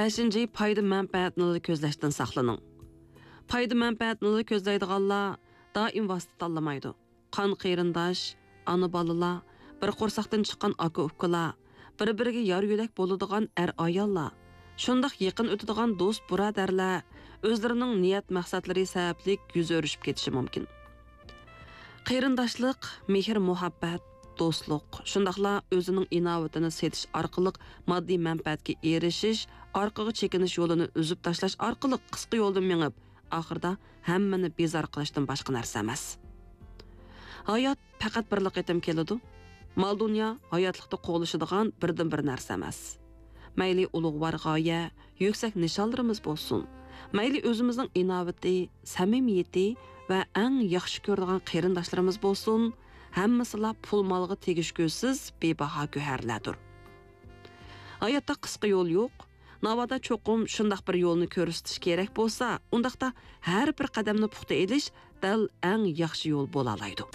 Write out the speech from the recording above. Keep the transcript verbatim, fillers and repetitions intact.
بەشىنچى، پايدا مەنپەئەتنىلا كۆزلەشتىن ساقلىنىڭ. پايدا مەنپەئەتنىلا كۆزلەيدىغانلار دائىم ۋاسىتە تاللىمايدۇ. قان قېرىنداش، ئانا بالىلار، بىر قورساقتىن چىققان ئاكا ئۇكىلار، بىر بىرىگە يار يۆلەك بولىدىغان ئەر ئاياللار، شۇنداق يېقىن ئۆتىدىغان دوست بۇرادەرلەر ئۆزلىرىنىڭ نىيەت مەقسەتلىرى سەۋەبلىك يۈز ئۆرۈشۈپ كېتىشى مۇمكىن. قېرىنداشلىق، مېھىر مۇھەببەت، دوستلۇق، شۇنداقلا ئۆزىنىڭ ئىناۋىتىنى سېتىش ئارقىلىق ماددىي مەنپەئەتكە ئېرىشىش، ئارقىغا چېكىنىش يولىنى ئۈزۈپ تاشلاش ئارقىلىق قىسقا يولدىن مېڭىپ، ئاخىرىدا ھەممىنى بىزار قىلىشتىن باشقا نەرسە ئەمەس. ھايات پەقەت بىرلا قېتىم كېلىدۇ. مال-دۇنيا ھاياتلىقتا قوغلىشىدىغان بىردىنبىر نەرسە ئەمەس. مەيلى ئۇلۇغۋار غايە، يۈكسەك نىشانلىرىمىز بولسۇن، مەيلى ئۆزىمىزنىڭ ئىناۋىتى، سەمىمىيىتى ۋە ئەڭ ياخشى كۆرىدىغان قېرىنداشلىرىمىز بولسۇن، ھەممىسىلا پۇل-مالغا تېگىشكۈسىز بىباھا گۆھەرلەردۇر. ھاياتتا قىسقا يول يوق. ناۋادا چوقۇم شۇنداق بىر يولنى كۆرسىتىش كېرەك بولسا، ئۇنداقتا ھەر بىر قەدەمنى پۇختا ئېلىش دەل ئەڭ ياخشى يول بولالايدۇ.